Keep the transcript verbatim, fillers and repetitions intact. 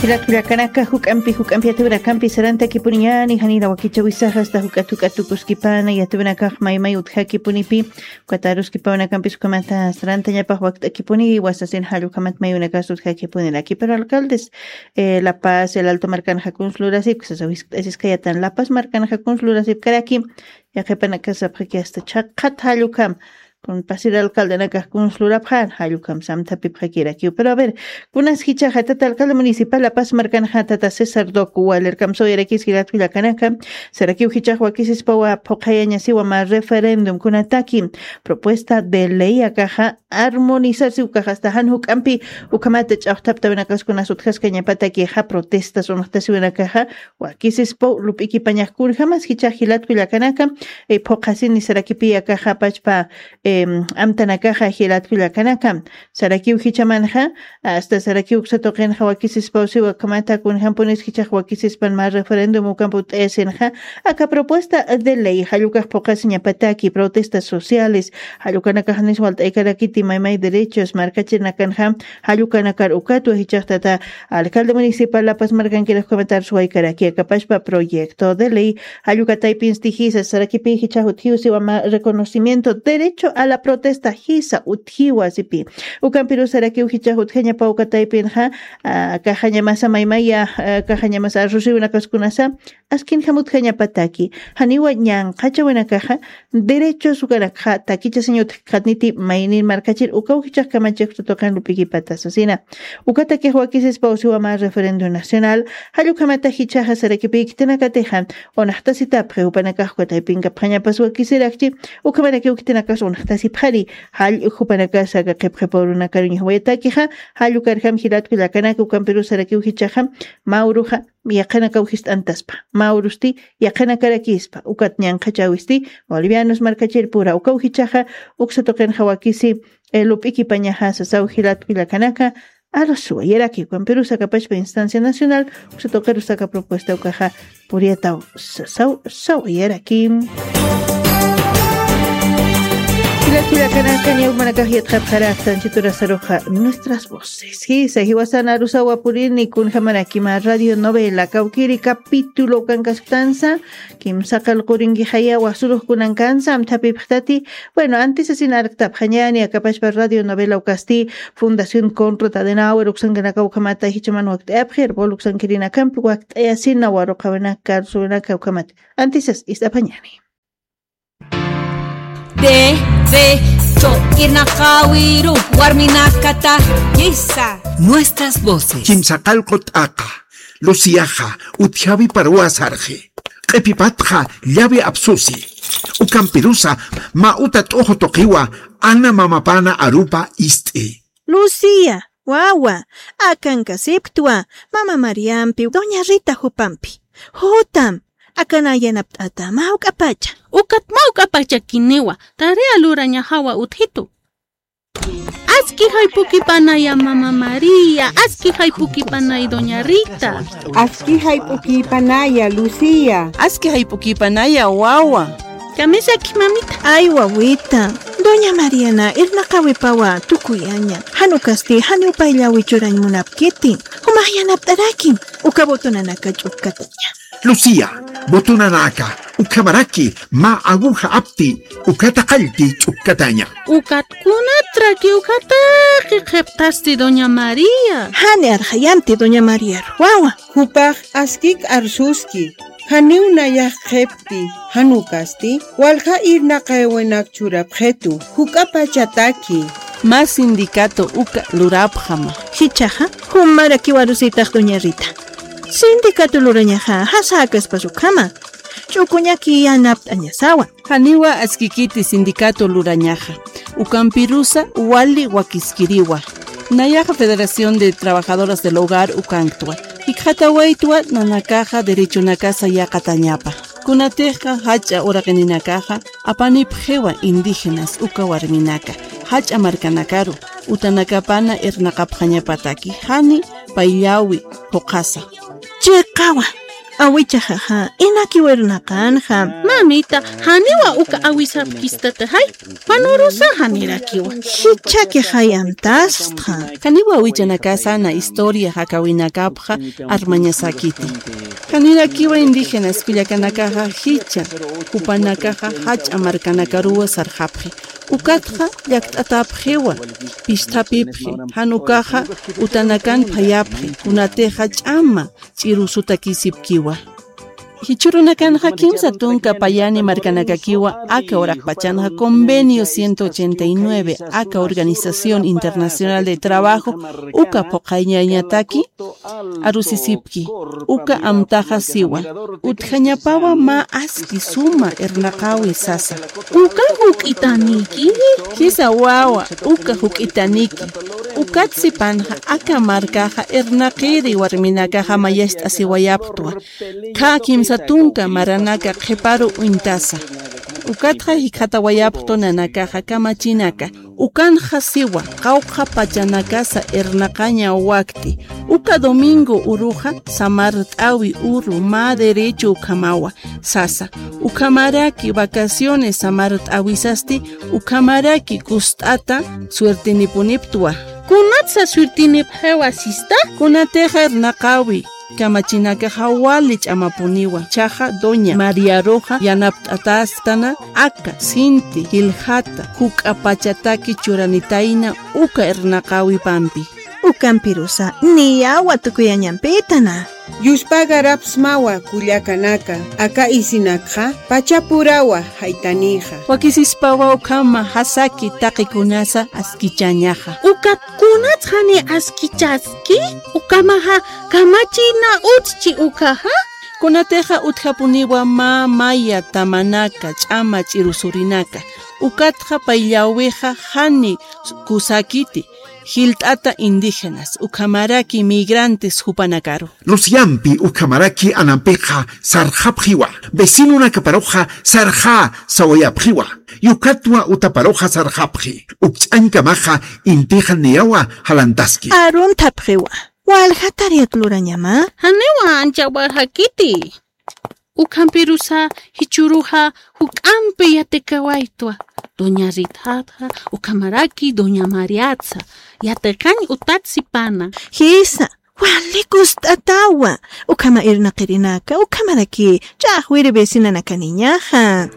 Jilat kullakanaka, juk'ampi juk'ampi yatawinakampi sarantakipuniñani, janira wakichawisaxa asta juk'at juk'at tukuskipana yatawinakax maymay utjakipunipi, ukat aruskipawinakampis ukhamata sarantañapax wakt'akipuni, wasasin jall ukhamat maywinakas utjakipuniraki. Pero alcaldes, eh, La Paz, El Alto markanxa kuns lurasipki sasa wiskt'asiskayatan, La Paz markanxa kuns lurasipkaraki, yaqhipanakasapxaki asta chhaqhat jall ukham, kun pasir alcaldenakax kuns lurapxan jall ukham samthapipxakirakiw. Pero a ver, kunas jichhaxa tata alcalde municipal La Paz markanxa tata César Doc Waller kamsaw yarakis jilat kullakanaka, sarakiw jichhax wakisispawa phuqhayañasiwa mä referendum kunataki propuesta de ley akaxa armonizarsi ukaxa asta jan juk'ampi ukhamata ch'awjthaptawinakas kunas utjaskañapatakixa protestas unuqtasiwinakaxa, wakisispaw lup'ikipañax kunjamas jichhax jilat kullakanaka, eh, phuqhasini sarakipi akaxa pachpa, em, amtanakaxa jilat kullakanaka. Sarakiw jichhamanxa, asta sarakiw uksa tuqinxa wakisispawsiwa ukhamata kunjampunis jichhax wakisispan mä referendum ukampi ut'ayasinxa, aka propuesta de ley jall ukax phuqhasiñapataki protestas sociales, jall ukanakax nis walt'aykarakiti maymay derechos markachirinakanxa, jall ukanakar ukatwa jichhax tata alcalde municipal La Paz markankiraq ukhamat arsuwaykaraki aka pachpa proyecto de ley, jall uka taypinsti jisa sarakipi jichhax utjiw siwa mä reconocimiento derecho a la protesta jisa utjiwa sipi. Ukampirus sarakiw jichhax utjañapaw uka taypinxa, ah, kaxañamasa maymaya, ah, kaxañamasa arsusiwinakas kunasa, askinjam utjañapataki, janiwa ñanqhachawinakaxa, derechos ukanakxa takichasiñ utjkxatniti maynin markachir ukaw jichhax kamachix tuqin lup'ikipata sasina. Ukatakix wakisispawsiwa mä referendo nacional, jall ukhamata jichhaxa sarakipi khitinakatixa, unaxtasitapxi jupanakax uka taypinkapxañapas wakisirakchi, ukhamarakiw khitinakas unaxtasipxani, jall jupanakasa aka qhipqhipaw urunakaruñax wayatakixa, jall ukarjam jilat kullakanaka ukampirus sarakiw jichhaxa, mä uruxa, yaqhanakaw jist'antaspa, mä urusti yaqhanakarakispa, ukat ñanqhachawisti, bolivianos markachirpura, ukaw jichhaxa, uksa tuqinxa wakisi, eh, lup'ikipañaxa sasaw jilat kullakanaka, arsuwayaraki, ukampirus aka pachpa instancia nacional, uksa tuqirus aka propuesta ukaxa, puriyataw sasaw, sawayaraki. Jilat kullakanaka, ñawmanakax yatxapxaraktan, chiturasaruxa, nuestras voces. Jisa, jiwasan arusawa purini, kunjamaraki mä radio novela, kawkiri capítulo ukankasktansa, kimsa qillqurinki jayawa surux kunankansa, amthapipxtati, bueno, antisasin arktapxañani, aka pachpa radio novela ukasti, Fundación Konrad Adenauer uksankanaka ukhamata jichhaman wakt'ayapxir, bol uksankirinakampi wakt'ayasina, waruqawinaka, arsuwinaka ukhamata. Antisas ist'apxañani. Derecho irnaqawiru warminakatakisa. Nuestras voces. Kimsa qillqu t'aqa, Luciaxa, utjawi parwa sarxi. Q'ipipatxa, llawi apsusi. Ukampirusa, mä uta t'uxu tuqiwa, Ana mamapana arupa ist'i. Lucía, wawa, akankasipktwa, mama Mariampi, doña Rita jupampi. Jutam, akan ayanapt'ata, mä juk'apacha. Ukat mä juk'apachakiniwa, tarea lurañaxawa utjitu. Aski jaypukipanaya mama María, aski jaypukipanay doña Rita. Aski jaypukipanaya Lucía. Aski jaypukipanaya wawa. Kamisaki mamita. Ay, wawita. Doña Mariana, irnaqawipawa tukuyaña. Jan ukasti, janiw payllawi churañ munapkiti. Jumax yanapt'arakim. Uka botonanaka ch'ukkataña. Lucía, botonanaka, ukhamaraki, mä aguja apti, ukata qallti ch'ukkataña. Ukat kunatraki, ukataki qhiptasti doña María. Jani arxayamti doña María wawa. Jupax askik arsuski, janiw nayax qhipti, jan ukasti, walja irnaqawinak churapxitu, juk'apachataki. Mä sindicato uka lurapxama. Jichhaxa, jumarakiw arusitax doña Rita. Sindicato lurañaxa, jasäkaspas ukhama. Ch'ukuñaki yanapt'añasawa. Janiwa askikiti sindicato lurañaxa. Ukampirusa wali wakiskiriwa. Nayaxa Federación de Trabajadoras del Hogar ukanktwa. Jikxatawaytwa nanakaxa derechonakasa yäqatañapa. Kunatixa jach'a uraqininakaxa apanipxiwa indígenas uka warminaka. Jach'a markanakaru utanakapana irnaqapxañapataki jani payllawi phuqhasa. Chiqawa. Awichaxaxa, inakiwa irnaqanxa. Mamita, janiwa uka awisapkistataxay, panurusa janirakiwa. Jichhakixay amtastxa. Janiwa awichanakasa na historia jakawinakapxa armañasakiti. Janirakiwa indígenas kullakanakaxa jichha, jupanakaxa jach'a markanakaruwa sarxapxi. Ukatxa llakt'atapxiwa, pisthapipxi, jan ukaxa utanakan phayapxi, kunatixa ch'ama ch'irusutakisipkiwa. Jichhürunakanxa kimsa tunka payani markanakakiwa aka uraqpachanxa Convenio ciento ochenta y nueve, aka Organización Internacional de Trabajo, uka phuqhañañataki arusisipki, uka amtaxa siwa, utjañapawa mä aski suma irnaqäwi sasa. Uka juk'itaniki. Jisa wawa, uka juk'itaniki. Ukat sipanxa aka markaxa irnaqiri warminakaxa mayacht'asiwayapxtwa. Khä kimsa tunka maranaka qhiparu uñtasa. Ukatxa jikxatawayapxtwa nanakaxa kamachinaka. Ukanxa siwa, qawqha pachanakasa irnaqaña wakti. Uka domingo uruxa samart'äwi uru mä derecho ukhamawa sasa. Ukhamaraki vacaciones samart'äwisasti, ukhamaraki kust'ata suertinipuniptwa. Kunatsa suertinipxiwa sista? Kunatixa irnaqäwi kamachinakaxa wali ch'amapuniwa, jichhaxa doña Mariaruxa yanapt'atästana aka sinti jilxata juk'a pachataki churanitayna uka irnaqäwipampi. Ukampirusa niyawa tukuyañampïtana. Yuspagarapxsmawa kullakanaka, aka isinakxa pachapurawa jaytanixa. Wakisispawa ukhama jasaki taqikunasa askichañaxa. Ukat kunats jani askichaski, ukhamaxa kamachina utjchi ukaxa. Kunatixa utjapuniwa mä maya tamanaka, ch'ama ch'irusurinaka. Ukatxa payllawixa jani kusakiti, jilt'ata indígenas, ukhamaraki migrantes jupanakaru. Luciampi ukhamaraki anampixa sarxapxiwa, vecinonakaparuxa sarxä sawayapxiwa, yukatwa utaparuxa sarxapxi, ukch'añkamaxa intixa niyawa jalantaski. Aruntapxiwa, walja tareat lurañama. Janiwa anchawarjakiti. Ukhampirusa jichhüruxa juk'ampi yatikawaytwa. Doña Rithatxa, ukhamaraki doña Mariatsa, yatiqañ utat sipana. Jisa, wali kust'atawa. Ukhama irnaqirinaka, ukhamaraki ch'axwiri vecinanakaniñaxa.